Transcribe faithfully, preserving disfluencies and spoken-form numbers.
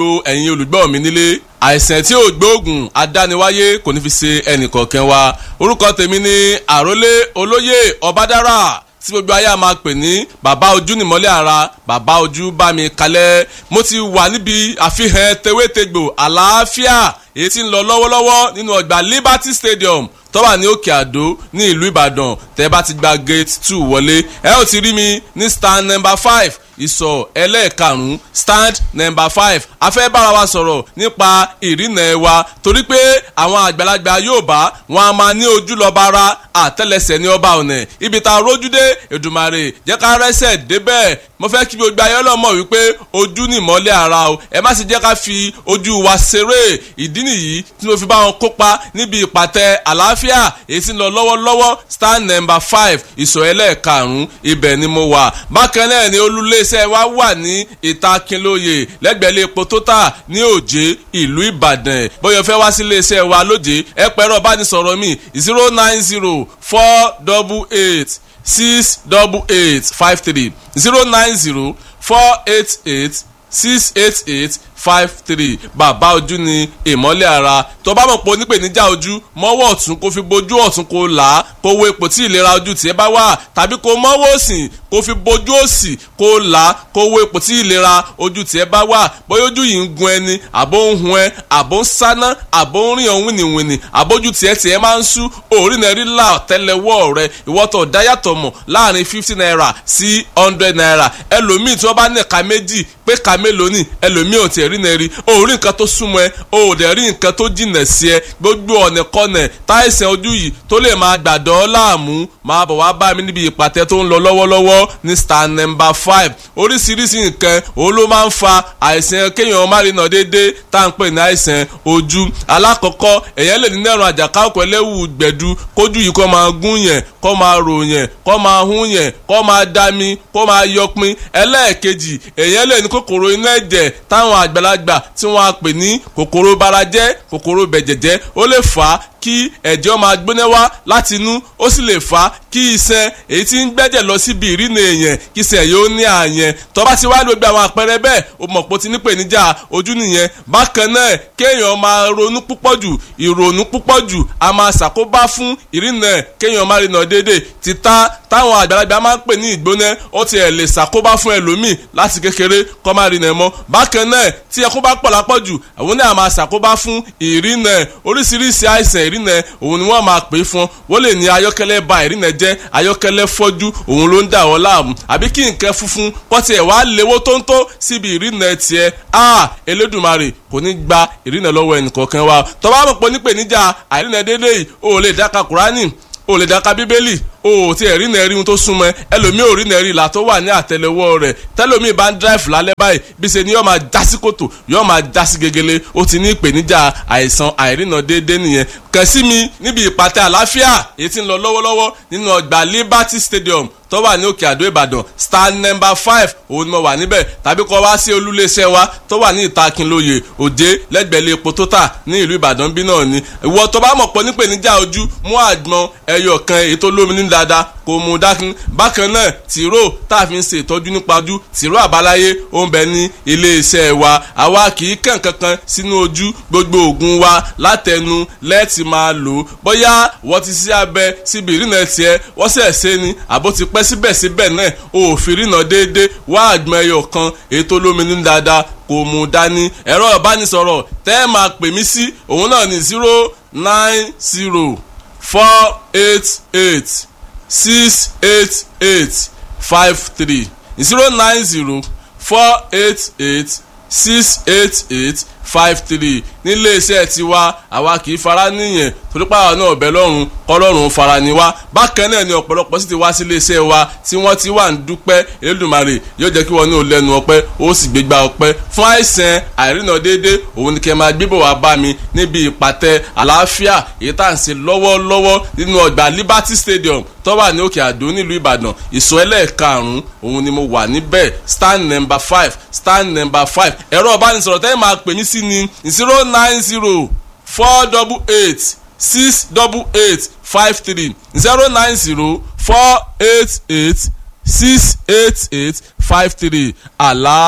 Gbogbo ẹ̀yin olùgbọ́ mi nílé, àìsàn tí ò gbóògùn adániwáyé kò ní fi ṣe ẹnìkọ̀ọ̀kan wa. Orúkọ tèmi ni Àrólé Olóyè Ọbádára, tí gbogbo ayé a máa pè ní Bàbá Ojú Nìmọ́lẹ̀ Ara, Bàbá Ojú Bá Mi Kalẹ̀. Mo ti wà níbi àfihàn tewétegbò àlàáfíà èyí tí ń lọ lọ́wọ́lọ́wọ́ nínú ọgbà Liberty Stadium tó wà ní Òkè Àdó ní ìlú Ìbàdàn. Tẹ́ bá ti gba gate two wọlé, ẹ ó ti rí mi ní stand number five, ìsọ̀ ẹlẹ́ẹ̀karùn-ún, stand number five. A fẹ́ bára wa sọ̀rọ̀ nípa ìrìnà ẹ̀ wa, torí pé àwọn àgbàlagbà Yorùbá wọn a máa ní ojú lọ́ba ara, àtẹ́lẹsẹ̀ ní ọba ọ̀nà. Ibi tá a rójú dé, Èdùmàrè jẹ́ ká rẹ́sẹ̀ débẹ̀. Mo fẹ́ kí gbogbo ayé ọlọ́mọ wípé ojú ni ìmọ́lẹ̀ ara o. Ẹ má sì jẹ́ ká fi ojú wa ṣeré. Ìdí nìyí tí mo fi bá wọn kópa níbi ìpàtẹ àlàáfíà èyí tí ń lọ lọ́wọ́lọ́wọ́, stand number five, ìsọ̀ ẹlẹ́ẹ̀karùn-ún, ibẹ̀ ni mo wà. Bákan náà ni olúléeṣẹ́ wa wà ní ìta Akínlóye, lẹ́gbẹ̀ẹ́ epo Total ní Òjé, ìlú Ìbàdàn. Bóyá fẹ́ wá sí iléeṣẹ́ wa lójé, ẹ pẹ̀rọ bánisọ̀rọ̀ mi zero nine zero four double eight six double eight five three, zero nine zero four eight eight six eight eight five three. Bàbá Ojú ni ìmọ́lẹ̀ ara. Tó bá mọ̀ pé onípèníjà ojú, mọ́wọ́ ọ̀tún kó fi bojú ọ̀tún kó là á, kó wo ipò tí ìlera ojú tiẹ̀ bá wà, tàbí kó mọ́wọ́ òsì kó fi bojú òsì kó là á, kó wo ipò tí ìlera ojú tiẹ̀ bá wà. Bóyá ojú yìí ń gun ẹni, àbó ń hun ẹ, àbó ń sáná, àbó ń rìn ọ̀hún wìnìwìnì, àbójú tiẹ̀ tiẹ̀ máa ń sú, òórì náà rí là tẹ́lẹ̀wọ́ rẹ. Ìwọ́tọ̀ dáyàtọ̀ mọ̀ láàrin fifty naira sí hundred naira. Ẹlòmíì tí wọ́n bá ní ẹ̀ka méjì pé ka mélòó ni, ẹlòmíì ò tiẹ̀ rí náà rí. O ò rí nǹkan tó súnmọ́ ẹ, o ò dẹ̀ rí nǹkan tó jìnà sí ẹ. Gbogbo ọ̀nà kọ́nà táìsàn ojú yìí tó lè máa gbàdọ́ láàmú, máa bọ̀ wá bá mi níbi ìpàtẹ tó ń lọ lọ́wọ́lọ́wọ́ ní stand number five. Oríṣiríṣi nǹkan òun ló máa ń fa àìsàn kéèyàn má rí náà déédéé tá à ń pè ní àìsàn ojú. Alákọ̀ọ́kọ́, èèyàn lè ní nẹ́rùn àjàká ọkọ̀ ẹlẹ́wù gbẹ̀du, kójú yìí kó máa gún yẹn, kó máa rò yẹn, kó máa hún yẹn, kó máa dami, kó máa yọpin. Ẹlẹ́ẹ̀kejì, èèyàn lè ní kòkòrò inú ẹ̀jẹ̀ táwọn àgbàlagbà tí wọ́n á pè ní kòkòrò barajẹ́, kòkòrò bẹ̀jẹ̀jẹ́. Ó lè fà á kí ẹ̀jẹ̀ máa gbóná wá láti inú, ó sì lè fà á kí iṣan èyí tí ń gbẹ́jẹ̀ lọ síbi ìrìnà èèyàn, kí iṣan yóò ní àyẹn. Tó bá ti wá gbogbo àwọn àpẹẹrẹ bẹ́ẹ̀, o mọ̀ pé o ti nípèníjà ojú nìyẹn. Bákan náà, kéèyàn máa ronú púpọ̀ jù, ìrònú púpọ̀ jù a máa ṣàkóbá fún ìrìnà, kéèyàn máa rìnà déédéé. Títà táwọn àgbàlagbà máa ń pè ní ìgbóná, ó tiẹ̀ lè ṣàkóbá fún ẹlòmíì láti kékeré kó má rìnà mọ́. Bákan náà, tí ẹkún bá pọ̀ lápọ̀jù, àwọn náà máa ṣàkóbá fún ìrìnà. Oríṣiríṣi àìsàn ìrìnà òun ni wọ́n máa pè fún. Wọ́n lè ní ayọ́kẹ́lẹ́ ba ìrìnà jẹ́, ayọ́kẹ́lẹ́ fọ́jú òun ló ń dà wọ́n láàmú, àbí kí nǹkan funfun kọ́ tiẹ̀ wá léwó tóńtó síbi ìrìnà tiẹ̀. A Elédùmarè kò ní gba ìrìnà lọ́wọ́ ẹnìkọ̀ọ̀kan wa. Tó bá mọ̀ pé nípèníjà àìrìnà déédéé yìí, o ò lè dáka Kùránì, o ò lè dáka Bíbélì, o ò tí ẹ̀ rí náà rí ohun tó súnmọ́ ẹ. Ẹlòmíì ò rí náà rí ìlà tó wà ní àtẹ́lẹwọ́ rẹ̀. Tẹ́lòmíì bá ń dráìfù lálẹ́ báyìí, bí ṣe ni yóò máa já sí kòtò, yóò máa já sí gegele. Ó ti ní ìpèníjà àìsàn àìrìnà déédéé nìyẹn. Kàn sí mi níbi ìpàtẹ àlàáfíà èyí tí ń lọ lọ́wọ́lọ́wọ́ nínú ọgbà Liberty Stadium tó wà ní Òkè Àdó, Ìbàdàn, stand number five, òun ni mo wà níbẹ̀. Tàbí kó wá sí olúléeṣẹ́ wa tó wà ní ìta Akínlóye, Òjé, lẹ́gbẹ̀ẹ́ epo Total ní ìlú Ìbàdàn bí náà ni. Ìwọ tó bá mọ̀ pọ̀ nípèníjà ojú, mú àgbọn ẹyọ kan èyí tó lómi ní dáadáa kò mú dákun. Bákan náà, tìró tá a fi ń ṣe ìtọ́jú nípa ojú, tìró àbáláyé, ó ń bẹ ní iléeṣẹ́ wa. Àwa kì í kàn kankan sínú ojú. Gbogbo oògùn wa látẹnu lẹ́ẹ̀tì máa lò ó. Bóyá wọ́n ti ṣe abẹ síbi ìrìnà tiẹ̀, wọ́n sẹ̀ ṣe ni, àbó ti pẹ́, síbẹ̀síbẹ̀ náà o ò fi rìnà déédéé, wá àgbọn ẹyọ kan èyí tó lómi ní dáadáa kò mú dání. Ẹ̀rọ ìbánisọ̀rọ̀ tẹ́ ẹ máa pè mí sí òun náà ní zero nine zero four eight eight six eight eight five three, zero nine zero four eight eight six eight eight five three. Nílé iṣẹ́ tiwa, àwa kì í fara níyẹn, torí pé àwa náà ọ̀bẹ lọ́rùn kọ́lọ́run fara ni wá. Bákan náà ni ọ̀pọ̀lọpọ̀ sì ti wá sílé iṣẹ́ wa tí wọ́n ti wà ń dúpẹ́. Elédùmarè yóò jẹ́ kí wọ́n ní ò lẹ́nu ọpẹ́, ó sì gbégbá ọpẹ́. Fún àìsàn àìrìnà déédéé, òun ni kẹ́ máa gbébọ̀ wá bá mi níbi ìpàtẹ àlàáfíà èyí tá à ń ṣe lọ́wọ́lọ́wọ́ nínú ọgbà Liberty Stadium tó wà ní Òkè Àdó nílùú Ìbàdàn, ìsọ̀ ẹlẹ́ẹ̀karùn-ún, òun ni mo wà níbẹ̀, stand number five, stand number five. Ẹ̀rọ ìbánisọ̀rọ̀ tẹ́yìn máa pè mí sí ni zero nine zero four double eight six double eight five three, zero nine zero four eight eight six eight eight five three. Àlá.